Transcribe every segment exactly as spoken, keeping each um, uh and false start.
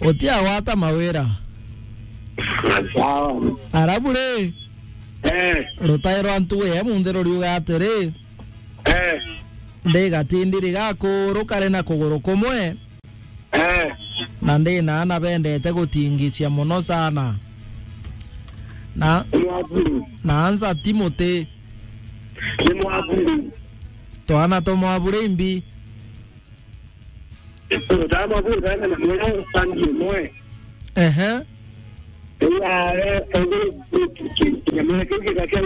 Utiagwata mawira. Sawa. Arabu ri? Eh. Rutae rwa ntugu ya munthi ruriuga atiri, eh, ndi gatindi rigaku rukare na kuguru kumwe. Eh. Na ndi na ana bendete gutingicia muno sana. Na, ni mwaburi, na ansa ti muti. Ni mwaburi. Twana twa mwaburi imbi. Twana mwaburi, twana na mwana sandi mwe. Ehe. Iya, eh, eh, ki-, ki-, kinyamune kiu gigakea,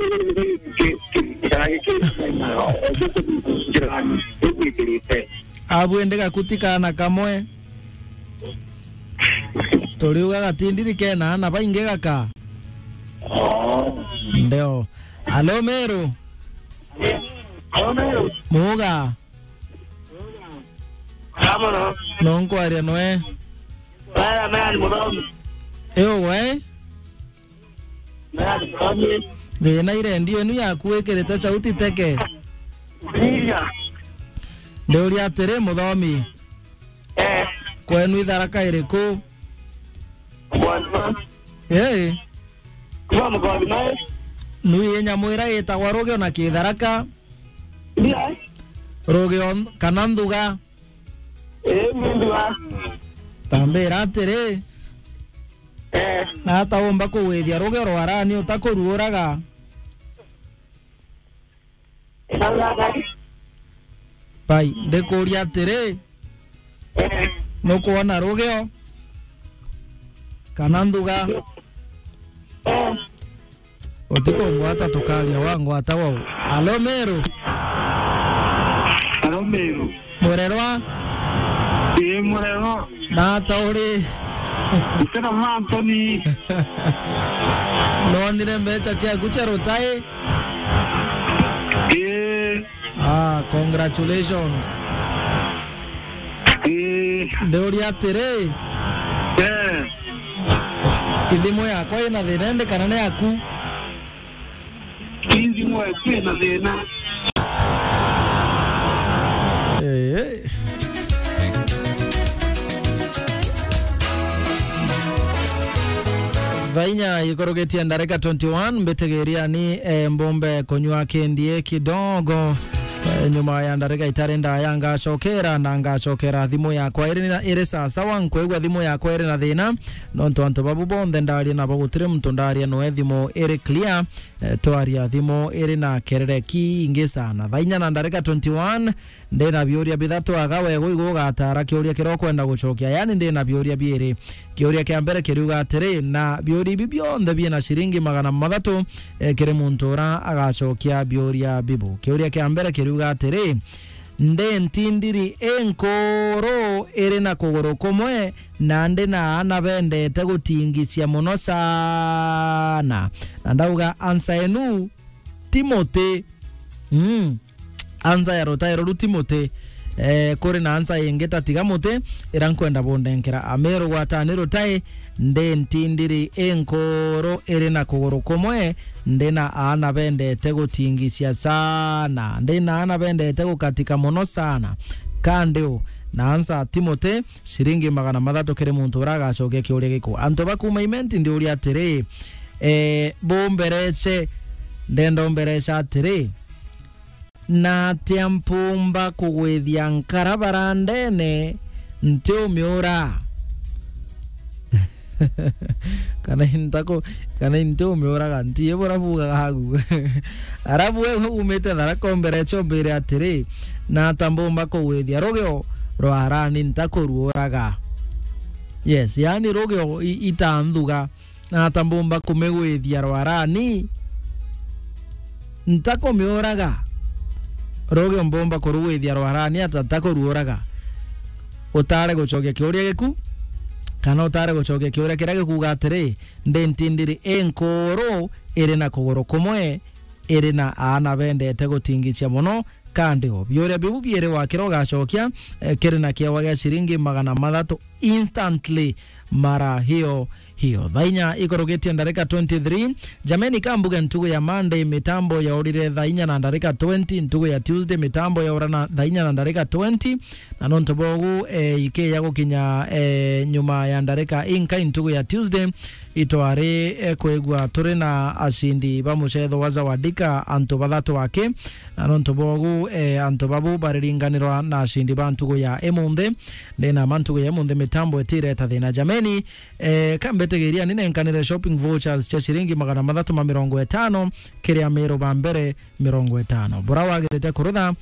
gigwikirite. Abu indi gakuti kana kamwe. Turiuga gatindiri kena ana baingi gaka. Ndio. Alo, Meru. Alo, Meru. Muga. Sawa, no. No nkwaria noe. Baya, mea ni muthomi. Ewe. Mea ni muthomi. Thina irendio inu yaku wikirite sauti teke. Iya. Ndiuria atiri, muthomi. Eh. Kwenu itharaka iriku? Mwanza. Eh. Kuma muthomi nae. Nui nyamu ira itagwa rugio na kitharaka. Iya. Rugio kana nthuga? Eh, ni nthuga. Tambira atiri. Eh. Na ata umba kugwithia rugio rwa rani utakuruuraga? Nthuga. Pai, ndikuria atiri, eh, nukwona rugio kana nthuga? Eh. Utikungwata tukaria wangwata wau. Alo, Meru. Alo, Meru. Murerwa? Ii, murerwa. Na ata uri? Ntira Anthony. Nonire mbeca ciaku cia rutai? Ii. Ah, congratulations. Ii. Ndiuria atiri, eh, ithimu yakwa ina thina indi kana ni yaku? Ithimu yaku ina thina. Eh. Thaa inya ikurugitie ndarika twenty-one, mbitigiria ni, eh, mbumbe kunywa kindie kidogo. Eh, nyuma ya ndarika itari ndaya ngacokera, na ngacokera thimu yakwa iri na, iri sasawa, nkwigua thimu yakwa iri na thina, nontu antu babu bonthe ndaria nabo gutiri muntu ndaria noe thimu iri clear. Eh, twaria thimu iri na kerere kiingi sana. Thaa inya na ndarika twenty-one, ndina biuria bithatu, aga wego igu ugatara kiuria kiria ukwenda gucokia. Yani, ndina biuria biiri. Kiuria kia mbere kiriuga atiri, na biuria ibi bionthe biina ciringi magana mathatu, eh, kiri muntu ura agacokia biuria bibu. Kiuria kia mbere kiriuga atiri, ndi ntindiri inkuru iri na kuguru kumwe, na ndi na aana bendete gutingicia mono sana. Na ndauga answer enu, Timothy. Mm. Answer ya rutae ruru Timothy. Eh, kuri na answer ingi ta tiga muti, ira nkwenda bundenkera. Amiru gwatani rutae, ndi ntindiri inkuru iri na kuguru kumwe, ndi na aana bendete gutingicia sana. Ndi na aana bendete gukatika mono sana. Kandi u, na answer Timothy, ciringi magana mathatu kiri muntu ura agacokia kiuria giku. Antu ba kuuma Imenti ndiuria atiri, eh, bumbereche, ndenda umberecha atiri, na atia mpumba kugwithia nkara barandene ntiumiura? Kana intako, kana intiumiuraga, nti bura bugaga agu. Arabu we umite Tharaka umbereche umbire atiri, na ata mbumba kugwithia rugio rwa arani ntakuruuraga? Yes, yani rugio i-, itanthuga, na ata mbumba kumigwithia rwarani? Ntakumiuraga. Rugio mbumba kurugwithia rwarani ata ntakuruuraga? Utare gucokia kiuria giku, kana utare gucokia kiuria kiria gikuuga atiri, ndi ntindiri inkuru iri na kuguru kumwe, iri na aana bendete gutingicia mono, kandi o. Biuria biu biiri wakira ugacokia, eh, kiri na kiewa gia ciringi magana mathatu instantly mara hiyo hiyo. Thaa inya ikurugitie ndarika twenty-three. Jameni, kambuge ntugu ya Monday, mitambo yaurire thaa inya na ndarika twenty, ntugu ya Tuesday, mitambo yaura na thaa inya na ndarika twenty, na nontu bogu, eh, ikiya gukinya, eh, nyuma ya ndarika inkai ntugu ya Tuesday, itwari, eh, kwigua turi na acindi ba mucetho wa Zawadika, antu bathatu aki, na nontu bogu, eh, antu babu bariringanirwa na acindi ba ntugu ya imunthi. Ndina ma ntugu ya imunthi mitambo itireta thina. Jameni, eh, kambitigiria ni nenkanire shopping vouchers cia ciringi magana mathatu ma mirongo itano kiri Amiru ba mbere mirongo itano. Bura wagirite kurutha,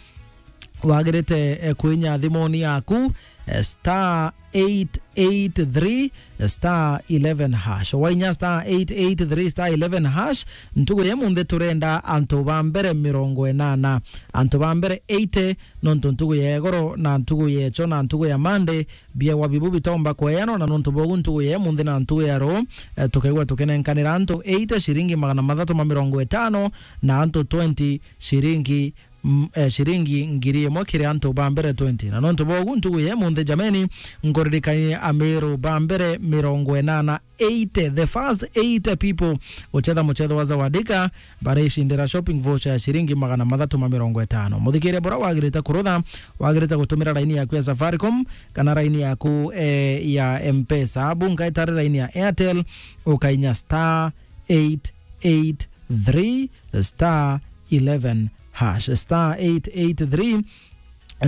wagirite, eh, kwinya thimuni yaku, eh, star eight eight three star eleven hash. Wainya star eight eight three star eleven hash, ntugu ya imunthi turenda antu ba mbere mirongo inana. Antu ba mbere eighty, nontu ntugu ya igoro na ntugu ya echo na ntugu ya Monday, biewa bibu bitomba kweanwa, na nontu bogu ntugu ya imunthi na ntugu ya ruu, eh, tukaigua tukinenkanira antu eighty ciringi magana mathatu ma mirongo itano, na antu twenty ciringi, mm, eh, ciringi ngiri imwe kiri antu ba mbere twenty. Na nontu bogu ntugu ya imunthi, jameni, nkuririkanie Amiru ba mbere mirongo inana, eighty, the first eighty people gucetha mucetho wa Zawadika, baricindira shopping voucher ya ciringi magana mathatu ma mirongo itano. Muthikiria, bura wagirite kurutha, wagirite gutumira laini yaku ya Safaricom kana laini yaku, eh, ya M-Pesa. Abu nkaitari laini ya Airtel, ukainya star eight eight three star eleven hash, star eight eight three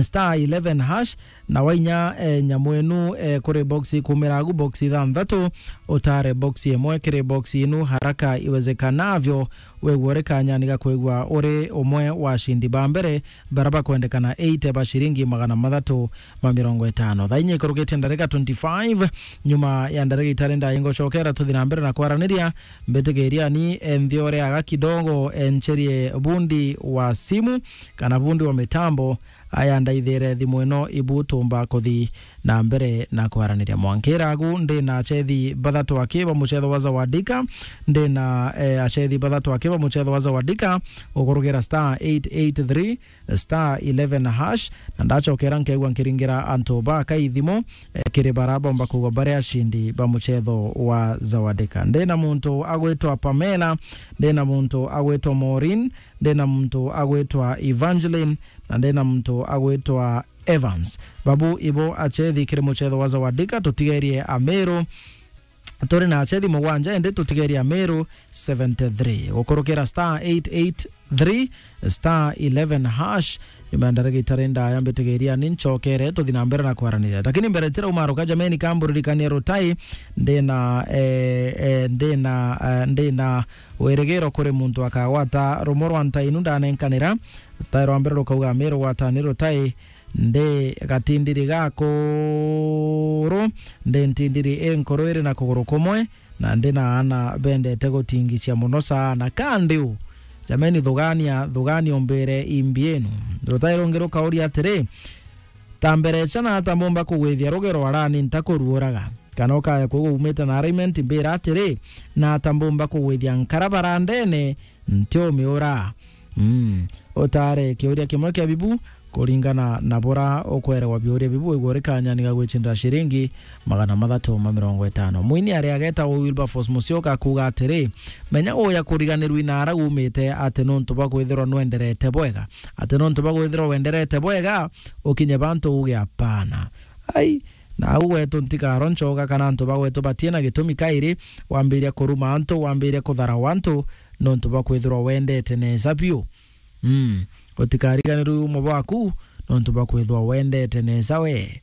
star eleven hash, na wainya, eh, nyamu enu, eh, kuri box ikumira agu, box ithanthatu, utare box imwe kiri box inu haraka iwezekanavyo, wegua uri kanyani ga kwigua uri umwe wa acindi ba mbere bara bakwendekana eighty ba ciringi magana mathatu ma mirongo itano. Thaa inya ikurugitie ndarika twenty-five, nyuma ya ndarika itari ndaya ingocokera tuthi na mbere na kwaraniria, mbitigiria ni, eh, nthiore aga kidogo, eh, ncherie bundi wa simu kana bundi wa mitambo, aya ndaithire thimu ino ibu tumba kuthi na mbere na kwaraniria. Mwankira agu ndi na achethi bathatu aki ba mucetho wa Zawadika, ndi na, eh, achethi bathatu aki ba mucetho wa Zawadika, ukurugira star eight eight three star eleven hash, na ndachokera nkeigua nkiringira antu ba kai thimu, eh, kiri bara bomba kugwa bari acindi ba mucetho wa Zawadika. Ndi na muntu agwitwa Pamela, ndi na muntu agwitwa Maureen, ndi na muntu agwitwa Evangeline, na ndi na muntu agwitwa Evans. Babu ibo achethi kiri mucetho wa Zawadika, tutigerie Amiru, turi na achethi mugwanja, indi tutigeria Meru seventy-three. Gukurukira star eight eight three star eleven hash. Nyuma ya ndaragita ri ndaya mbitigeria ni ncokere tuthi na mbere na kwaraniria. Lakini mbere tirauma ruka jameni, kamburirikania rutai, ndina, eh, eh, ndina, eh, ndina wirigiro kuri muntu akagwata rumo rwa ntainu ndanenkanira. Rutai rwa mbere rukauga, Meru gwatani rutai, ndi gatindiri gakuru, ndi ntindiri inkuru iri na kuguru kumwe, na ndi na aana bendete gutingicia muno sana. Ka ndi u? Jameni, thugania, thugania umbire imbi inu. Rutai rungi rukauria atiri, ta mberecha na ata mbumba kugwithia rugero arani ntakuruuraga? Kana ukaya kuuga umite na arraignment, mbira atiri, na ata mbumba kugwithia nkara barandene ntiumiura? Mm. Utare kiuria kimwe kia bibu, kuringana na bura ukwerewa biuria bibu, wigwe uri kanyani ga gwicindira ciringi magana mathatu ma mirongo itano. Mwini ari agetagwo Wilberforce Musyoka akuuga atiri, menya uya kuriganirwa inara umite ati nontu bwa kwithirwa nwenderete bwega, ati nontu bwa kwithirwa wenderete bwega, ukinye bantu uge apana. Ai, na au gwetu ntikaro nchoga kana antu ba gwetu batie na gitumi kairi, wambiria kuruma antu, wambiria kutharawa antu, nontu bwa kwithirwa wendete nesa biu. Mm. Utikariganirwe umo bwaku, nontu bwa kwithirwa wendete nesa we.